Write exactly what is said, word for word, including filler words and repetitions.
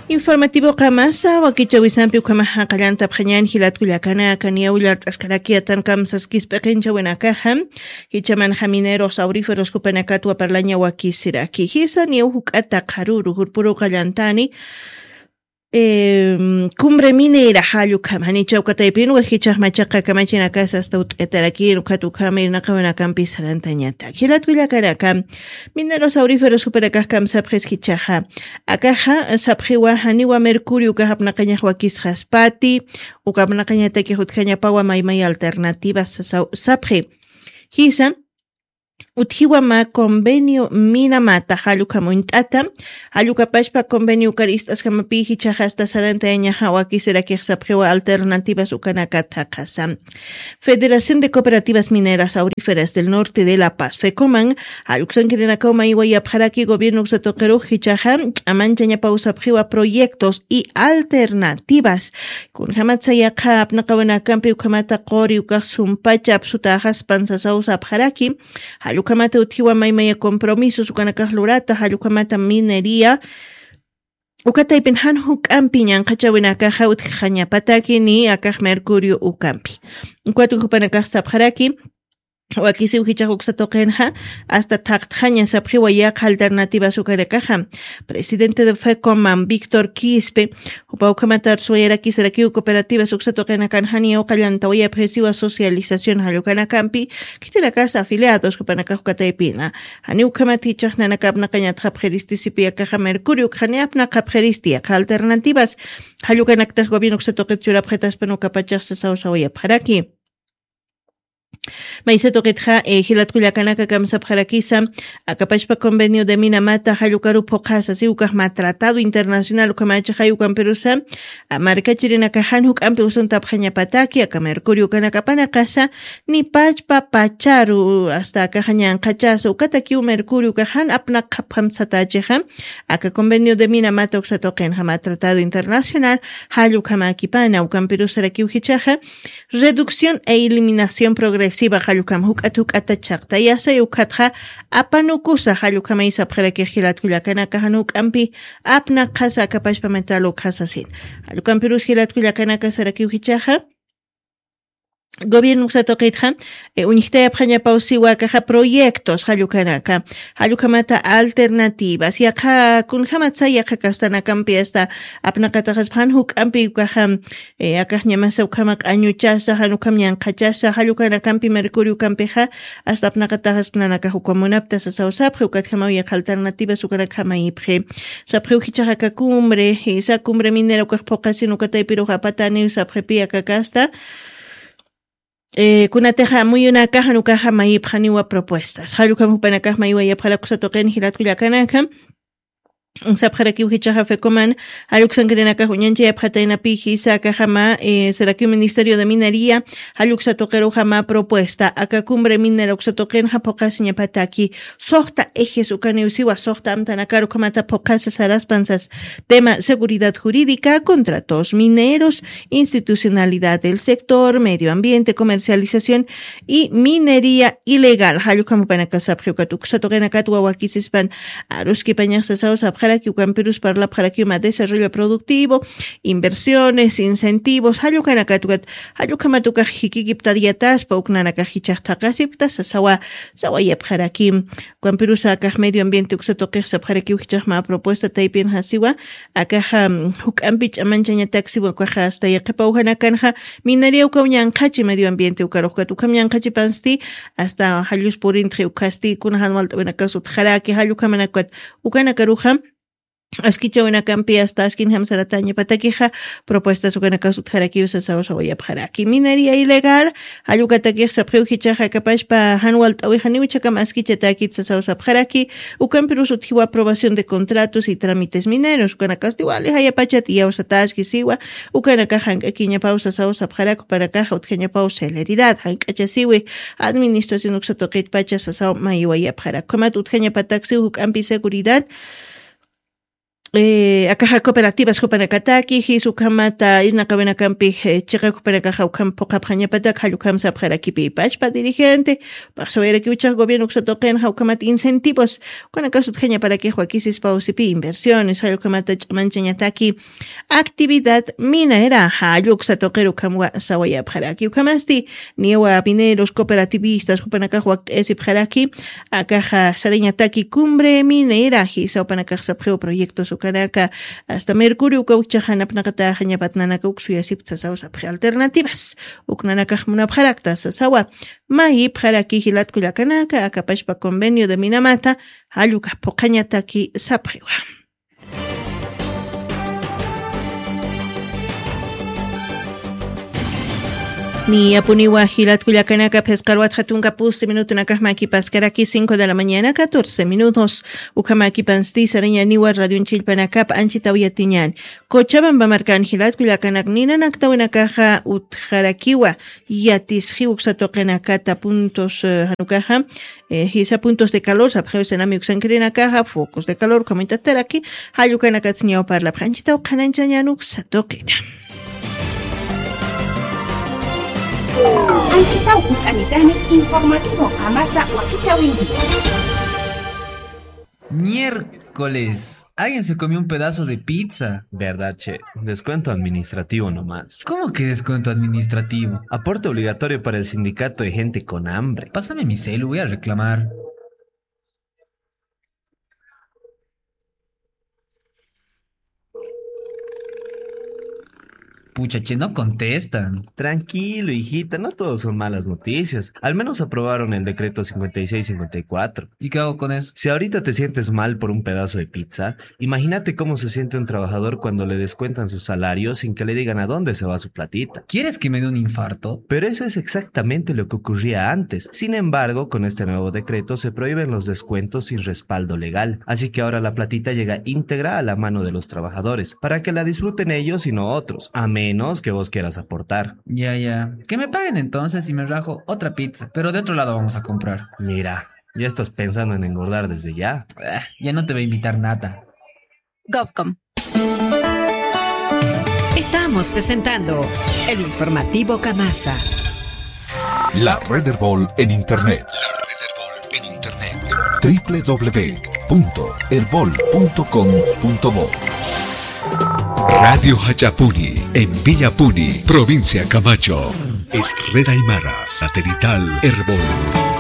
Informativo qamasa wakichawisampi ukhama jaqallantapxañan jilatkullakanaka niyaw llart'askaraki atan kamsaskis p'iqinchawinakaxa. Jichamanxa mineros auríferos jupanakatwa parlaña wakisiraki jisa niyaw juk'ata qharuru jurpuru qallantani. Cumbre minera jallukhamani chawkataypin wajichax machaqa kamachinakasa asta ut'etarakin ukhatukhama irnaqawinakampi sarantañata jilatkullakanaka. Mineros auríferos jupanakax kamsapxis jichaxa akaxa sapxiwa janiwa mercurio ukaxapnaqañax wakisxaspati. Ukapnaqañatakix utjañapawa maymay alternativas sapxi jisa. Utjiwa mä convenio minamata jallukhamuñt'ata jallukapashpa convenio ukar ist'askamapi jichaxa asta sarantayañaxa wakisirakix sapxiwa alternativas ukanaka thaqhasa. Federación de cooperativas mineras auríferas del norte de la paz fecoman jalluksankirinakaw maywayapxaraki gobierno uksatuqirux jichaxa ch'amanchañapaw sapxiwa proyectos y alternativas. Kunjamatsa yaqha apnaqawinakampi ukhamata quri ukax sumpacha apsutaxaspan sasaw sapxaraki. Jallukhamata utjiwa maymaya compromisos ukanakax lurata jallukhamata minería. Ukataypin jan juk'ampi ñanqhachawinakaxa utjxañapataki ni akax mercurio ukampi. Ukat jupanakax sapxaraki wakisiw jichax uksa tuqinxa asta thaqtxaña sapxiwa yaqha alternativas ukanakaxa. Presidente de fecoman víctor quispe jupa ukhamata arsuwayarakisarakiw cooperativas uksa tuqinakan janiyaw qallantawayapxisiwa socialización jallukanakampi. Khichinakas afiliados jupanakax ukataypina janiw ukhamat jichax nanakapnaqañatxapxiristisipi akaxa mercurio ukxani apnaqapxiristi yaqha alternativas. Jallukanaktax gobierno uksatuqit churapxataspan ukapachax sasawsawayapxaraki. Maysatuqitxa jilatkullakanaka kamsapxarakisa akapachpa convenio de minamata jallukaru phuqhasa si ukaxma tratado internacional ukhamachaxay ukampirusa markachirinakaxan juk'ampi usuntapxañapataki aka mercurio ukanakapanakasa ni pachpa pacharu asta akaxañanqachasa ukatakiw mercurio ukaxan apnaqapxamsatachixa. Aka convenio de minamata uksatuqinxama tratado internacional jallukhamakipana ukampirusarakiw jichaxa reducción e eliminación progresiva jallukam juk'at juk'ata chaqtayasay ukhatxa apanukusa jallukhamay sapxarakix jilatkullakanaka jan juk'ampi apnaqhasa akapashpa metal ukhasasin. Jallukampirus jilatkullakanaka sarakiw jichaxa gobierno uksatuqitxa uñjtayapxañapaw siwa akaxa proyectos jallukanaka jallukhamata alternativas yaqha kunjamatsa yaqha kastanakampi asta apnaqataxaspa jan juk'ampi ukaxa akaxñamasa ukhama q'añuchasa jan ukham ñanqhachasa jallukanakampi mercurio ukampixa asta apnaqataxaspa nanakax ukamunapta sasawsapxi ukatjamaw yaqha alternativas ukanakjamayipxi. Sapxiw jichaxa aka cumbre jisa cumbre minera ukax phuqhasin ukataypirux apataniw sapxipi aka kasta kunatixa muyunakaxan ukaxa mayipxaniwa propuestas jallukham jupanakax maywayapxarakusatuqin jilatkullakanaka. Sapxarakiw jichaxa fecoman jalluksankirinakax uñanchayapxataynapi jisa akaxama sarakiw ministerio de minería jalluksatuqiruxama propuesta aka cumbre minera uksatuqinxa phuqhasiñapataki. Suxta ejes ukaniw siwa suxta amtanakar ukhamata phuqhasa saraspansas tema seguridad jurídica contratos mineros institucionalidad del sector medio ambiente comercialización y minería ilegal jallukhamupanakasapxi ukat uksatuqinakat wawakisispan aruskipañaxsasaw sapxaraki ukampirus parlapxarakiwma desarrollo productivo inversiones incentivos jallukhanakatukat jallukhamatukax jikikiptad yataspa uknanakax jichaxtaqasipta sasawa sawayapxarakim. Ukampirusa akax medio ambiente uksatuqix sapxarakiw jichaxma propuesta taypin jasiwa akaxa juk'ampi ch'amanchañataksiwa ukaxa asta yaqipawjanakanxa minaria ukaw ñanqhachi medio ambiente ukaruxkat ukham ñanqhachipansti asta jallus purintxi ukhasti kunaxan walt'awinakas utxaraki jallukhamanakat ukanakaruxa askichawinakampi asta askinjam saratañapatakixa propuestas ukanakas utxarakiw sasaw sawayapxaraki minería ilegal. Jallukatakix sapxiw jichaxa kapashpa jan walt'awixaniw chhakam askichatakit sasaw sapxaraki ukampirus utjiw aprobación de contratos y trámites mineros ukanakasti wali jayapachat iyawsataski siwa ukanakax jank'akiñapaw sasaw sapxarak upanakaxa utjañapaw celeridad jank'achasiwi administración uksatuqitpacha sasaw mayiwayapxarak ukhamat utjañapataksiw juk'ampi seguridad eh, akaxa cooperativas jupanakataki, jis ukhamata irnaqawinakampi, eh, chiqa jupanakaxa ukham phuqhapxañapatak, jall ukham sapxarakipï pachpa dirigente, paqsawayarakiw ichhax gobierno uksa tuqinxa ukhamat incentivos, ukanakax utjañaparakix wakisispa usipï inversiones, jall ukhamata ch'amanchañataki actividad minera, jall uksa tuqir ukhamwa sawayapxaraki. Ukhamasti, niwa mineros cooperativistas, jupanakax wakt'ayasipxaraki, akaxa sarañataki cumbre minera, jisa jupanakax sapxiw proyectos ukanaka, hasta mercurio uka ukchaxa napnaqataxañapat nanaka uk suyasipta sasaw sapxi alternativas. Uk nanakax munapxarakta sasawa, mayipxaraki jilat kullakanaka, akapashpa convenio de minamata, jall ukax phuqhañataki sapxiwa. Niyapuniwa jilat kullakanaka, phisqa arwat jatunka pusti minutunakax makipaskaraki, cinco de la mañana, catorce minutos. Ukhamakipansti sarañaniwa radionchillpanakap anchitaw yatiñan. Cochabamba markan jilat kullakanak ninanaktawinakaxa utjarakiwa, yatisxiw uksa tuqinakata puntos, eh, janukaxa, eh, jisa puntos de calor, sapxiw sinami uksankirinakaxa, focos de calor, ukhamaytataraki, jall ukanakatsi ñaw parlapxi, anchitaw qhananchañan uksa tuqita. Anchitaw ukanitani informativo Qamasa wakichäwinkiwa. Miércoles. Alguien se comió un pedazo de pizza. ¿Verdad, che? Descuento administrativo nomás. ¿Cómo que descuento administrativo? Aporte obligatorio para el sindicato de gente con hambre. Pásame mi celu, voy a reclamar. Pucha, che, no contestan. Tranquilo, hijita, no todo son malas noticias. Al menos aprobaron el decreto cincuenta y seis cincuenta y cuatro. ¿Y qué hago con eso? Si ahorita te sientes mal por un pedazo de pizza, imagínate cómo se siente un trabajador cuando le descuentan su salario sin que le digan a dónde se va su platita. ¿Quieres que me dé un infarto? Pero eso es exactamente lo que ocurría antes. Sin embargo, con este nuevo decreto se prohíben los descuentos sin respaldo legal. Así que ahora la platita llega íntegra a la mano de los trabajadores, para que la disfruten ellos y no otros, a menos que vos quieras aportar. Ya, ya. Que me paguen entonces y me rajo otra pizza, pero de otro lado vamos a comprar. Mira, ya estás pensando en engordar desde ya. Ah, ya no te va a invitar nada. Govcom. Estamos presentando el informativo Kamasa. La Red Erbol en Internet. Triple w punto erbol punto com punto bo. Radio Hachapuni, en Villapuni, provincia Camacho. Es Red Aymara, satelital Erbol.